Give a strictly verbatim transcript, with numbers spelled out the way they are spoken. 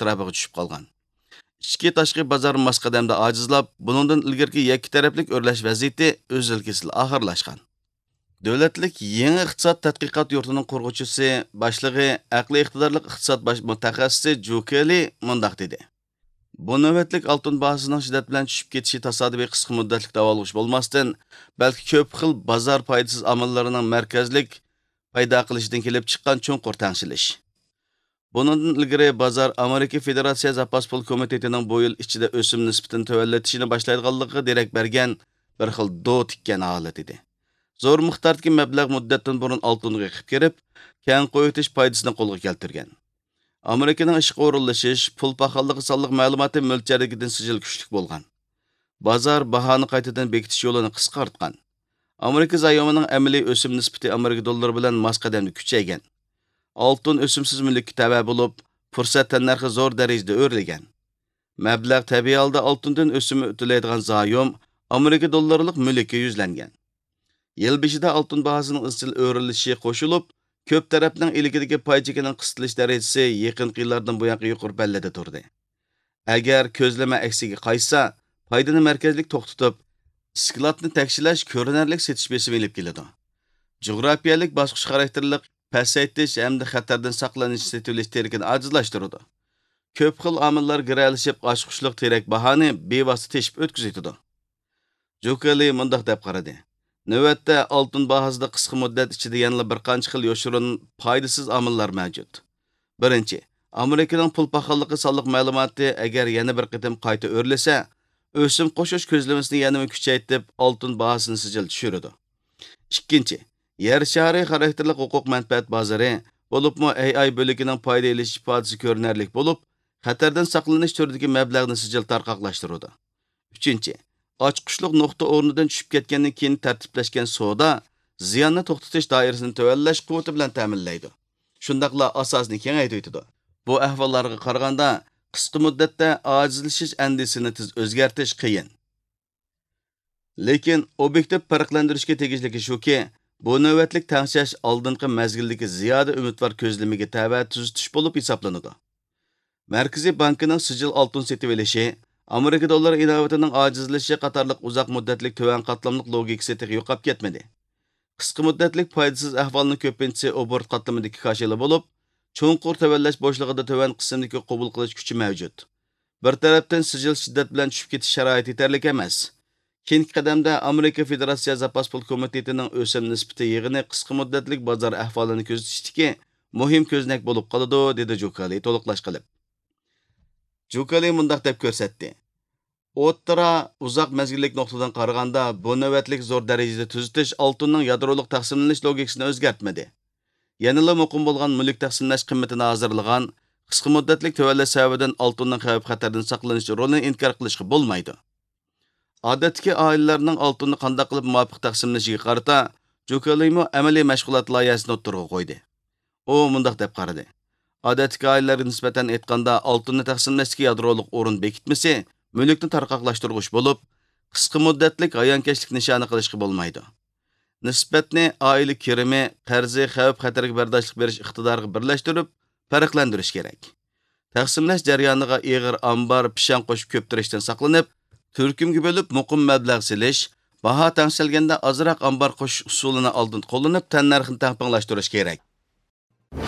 ئەتراپىغا چۈشۈپ قالغان. ئىچكى تاشقى بازار ماس قەدەمدە ئاجىزلاپ، بۇنىڭدىن ئىلگىرىكى يەككە تەرەپلىك ئۆرلەش ۋەزىيىتى ئۈزۈل-كېسىل ئاخىرلاشقان. دۆلەتلىك يېڭى ئىقتىساد تەتقىقات يۇرتىنىڭ قۇرغۇچىسى، باشلىقى، ئەقلىي ئىقتىدارلىق ئىقتىساد باش مۇتەخەسسىسى جۇ كېلى مۇنداق دېدى: بۇ نۆۋەتلىك ئالتۇن باھاسىنىڭ شىددەت بىلەن چۈشۈپ كېتىشى تاسادىپىي قىسقا مۇددەتلىك داۋالغۇش بولماستىن، بەلكى كۆپ خىل بازار پايدىسىز ئامىللىرىنىڭ مەركەزلىك پەيدا قىلىشىدىن كېلىپ چىققان چوڭقۇر تەڭشىلىش. بۇنىڭدىن ئىلگىرى بازار ئامېرىكا فېدېراتسىيە زاپاس پۇل كومىتېتىنىڭ بۇ يىل ئىچىدە ئۆسۈم نىسبىتىنى تۆۋەنلىتىشىنى باشلايدىغانلىقىغا دېرەك بەرگەن بىر خىل دو تىككەن ھالەت ئىدى. زور مىقداردىكى مەبلەغ مۇددەتتىن بۇرۇن ئالتۇنغا ئېقىپ كىرىپ، كەڭ قويۇۋېتىش پايدىسىنى قولغا كەلتۈرگەن. ئامېرىكىنىڭ ئىشقا ئورۇنلىشىش، پۇل پاخاللىقى سانلىق مەلۇماتى مۆلچەردىكىدىن سىجىل كۈچلۈك بولغان. بازار باھانى قايتىدىن بېكىتىش يولىنى قىسقارتقان. ئامېرىكا زايومىنىڭ ئەمەلىي ئۆسۈم نىسبىتى ئامېرىكا دوللىرى بىلەن ماس قەدەمدە كۈچەيگەن. ئالتۇن ئۆسۈمسىز مۈلۈككە تەۋە بولۇپ، پۇرسەت تەننەرخى زور دەرىجىدە ئۆرلىگەن. مەبلەغ تەبىئىي ھالدا ئالتۇندىن ئۆسۈمى تۆلەيدىغان زايوم ئامېرىكا دوللىرىلىق مۈلۈككە يۈزلەنگەن. يىل بېشىدا ئالتۇن باھاسىنىڭ ئىزچىل ئۆرلىشىشى قوشۇلۇپ، كۆپ تەرەپنىڭ ئىلكىدىكى پاي چېكىنىڭ قىستىلىش دەرىجىسى يېقىنقى يىللاردىن بۇيانقى يۇقىرى پەللىدە تۇردى. ئەگەر كۆزلىمە ئەكسىگە قايتسا، پايدىنى مەركەزلىك توختىتىپ، ئىسكىلاتنى تەكشىلەش كۆرۈنەرلىك سېتىش بېسىمى ئېلىپ كېلىدۇ. جۇغراپىيەلىك باسقۇچ خاراكتېرلىق پەسەيتىش ھەمدە خەتەردىن ساقلىنىش سېتىۋېلىش تىرىكىنى ئاجىزلاشتۇرىدۇ. كۆپ خىل ئامىللار گىرەلىشىپ، ئاچقۇچلۇق تىرەك باھانى بىۋاسىتە تېشىپ ئۆتكۈزۈۋېتىدۇ. جۇكېلى مۇنداق دەپ قارىدى: نۆۋەتتە ئالتۇن باھاسىدا قىسقا مۇددەت ئىچىدە يەنىلا بىر قانچە خىل يوشۇرۇن پايدىسىز ئامىللار مەۋجۇت. بىرىنچى، ئامېرىكىنىڭ پۇل پاخاللىقى سانلىق مەلۇماتى ئەگەر يەنە بىر قېتىم قايتا ئۆرلىسە، ئۆسۈم قوشۇش كۆزلىمىسىنى يەنىمۇ كۈچەيتىپ، ئالتۇن باھاسىنى سىجىل چۈشۈرىدۇ. ئىككىنچى، يەر شارى خاراكتېرلىك ھوقۇق مەنپەئەت بازىرى، بولۇپمۇ ئەي ئاي بۆلىكىنىڭ پايدا ئېلىش ئىپادىسى كۆرۈنەرلىك بولۇپ، خەتەردىن ساقلىنىش تۈرىدىكى مەبلەغنى سىجىل تارقاقلاشتۇرىدۇ. ئۈچىنچى، ئاچقۇچلۇق نۇقتا ئورنىدىن چۈشۈپ كەتكەندىن كېيىن تەرتىپلەشكەن سودا زىياننى توختىتىش دائىرىسىنى تۆۋەنلەش قۇۋۋىتى بىلەن تەمىنلەيدۇ. شۇنداقلا ئاساسنى كېڭەيتىۋېتىدۇ. بۇ ئەھۋاللارغا قارىغاندا، قىسقا مۇددەتتە ئاجىزلىشىش ئەندىزىسىنى تېز ئۆزگەرتىش قىيىن. لېكىن ئوبيېكتىپ پەرقلەندۈرۈشكە تېگىشلىكى شۇكى، بۇ نۆۋەتلىك تەڭشەش ئالدىنقى مەزگىلدىكى زىيادە ئۈمىدۋار كۆزلىمىگە تەۋە تۈزىتىش بولۇپ ھېسابلىنىدۇ. مەركىزىي بانكىنىڭ سىجىل ئالتۇن سېتىۋېلىشى، ئامېرىكا دوللىرى ئىناۋىتىنىڭ ئاجىزلىشىشى قاتارلىق ئۇزاق مۇددەتلىك تۆۋەن قاتلاملىق لوگىكىسى تېخى يوقاپ كەتمىدى. قىسقا مۇددەتلىك پايدىسىز ئەھۋالنىڭ كۆپىنچىسى ئوبوروت قاتلىمىدىكى كاشىلا بولۇپ، چوڭقۇر تۆۋەنلەش بوشلۇقىدا تۆۋەن قىسىمدىكى قوبۇل قىلىش كۈچى مەۋجۇت. بىر تەرەپتىن سىجىل شىددەت بىلەن چۈشۈپ كېتىش شارائىتى يېتەرلىك ئەمەس. كېيىنكى قەدەمدە ئامېرىكا فېدېراتسىيە زاپاس پۇل كومىتېتىنىڭ ئۆسۈم نىسبىتى يىغىنى قىسقا مۇددەتلىك بازار ئەھۋالىنى كۆزىتىشتىكى مۇھىم كۆزنەك بولۇپ قالىدۇ، دېدى جۇكالى تولۇقلاش قىلىپ. جۇكالى مۇنداق دەپ كۆرسەتتى: ئوتتۇرا، ئۇزاق مەزگىللىك نۇقتىدىن قارىغاندا، بۇ نۆۋەتلىك زور دەرىجىدە تۈزىتىش ئالتۇننىڭ يادرولۇق تەقسىملىنىش لوگىكىسىنى ئۆزگەرتمىدى. يەنىلا مۇقىم بولغان مۈلۈك تەقسىملەش قىممىتىنى ھازىرلىغان، قىسقا مۇددەتلىك تۆۋەنلەش سەۋەبىدىن ئالتۇننىڭ خەۋپ-خەتەردىن ساقلىنىش رولىنى ئىنكار قىلىشقا بولمايدۇ. ئادەتتىكى ئائىلىلەرنىڭ ئالتۇننى قانداق قىلىپ مۇۋاپىق تەقسىملىشىگە قارىتا، جۇكېلىمۇ ئەمەلىي مەشغۇلات لايىھەسىنى ئوتتۇرىغا قويدى. ئۇ مۇنداق دەپ قارىدى: ئادەتتىكى ئائىلىلەرگە نىسبەتەن ئېيتقاندا، ئالتۇننى تەقسىملەشتىكى يادرولۇق ئورۇن بېكىتمىسى مۈلۈكنى تارقاقلاشتۇرغۇچ بولۇپ، قىسقا مۇددەتلىك ھايانكەشلىك نىشانى قىلىشقا بولمايدۇ. نىسبەتنى ئائىلە كىرىمى، قەرزى، خەۋپ-خەتەرگە بەرداشلىق بېرىش ئىقتىدارىغا بىرلەشتۈرۈپ، پەرقلەندۈرۈش كېرەك. تەقسىملەش جەريانىغا ئېغىر ئامبار، پىشاڭ قوشۇپ كۆپتۈرۈشتىن ساقلىنىپ، تۈركۈمگە بۆلۈپ، مۇقىم مەبلەغ سېلىش، باھا تەڭشەلگەندە ئازراق ئامبار قوشۇش ئۇسۇلىنى ئالدىن قوللىنىپ، تەننەرخنى تەڭپۇڭلاشتۇرۇش كېرەك.